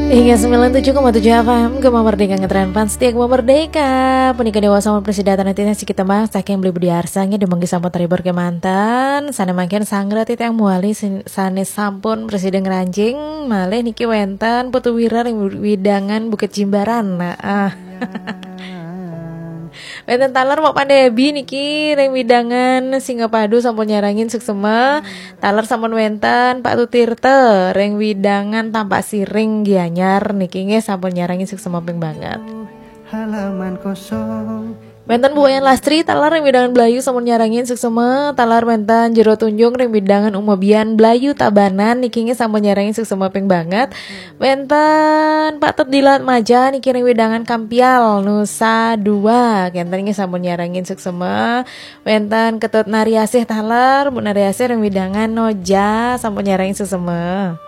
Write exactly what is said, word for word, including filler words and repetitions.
Hingga sembilan tujuh koma tujuh F M, Gema Merdeka, ngetren pan setia Gema Merdeka. Punika dewasa mun prasida titah siki tembang saking Beli Budi Arsa, nggih, dumogi sampun terhibur kemanten. Sane mangkin sanggra titiang mawali sin-, sane sampun prasida ngranjing, malih niki wenten Putu Wira ring widangan Bukit Jimbaran. Nah, ah. Wenten taler Mok Pandebi niki ring widangan Singapadu sampun nyarengin suksema. Taler sampun wenten Pak Tutirta ring widangan Tampak Siring Gianyar niki nggih sampun nyarengin suksema ping banget. Halaman kosong. Wenten Bu Wayan Lastri taler ring widangan Blayu sampun nyarengin suksema. Taler wenten Jero Tunjung ring widangan Umebian Blayu Tabanan niki nggih sampun nyarengin suksema ping banget. Wenten Pak Tet Dilat Maja niki ring widangan Kampial Nusa Dua. Kenten nggih sampun nyarengin suksema. Wenten Ketut Nariasih taler, Bu Nariasih ring widangan Noja sampun nyarengin suksema.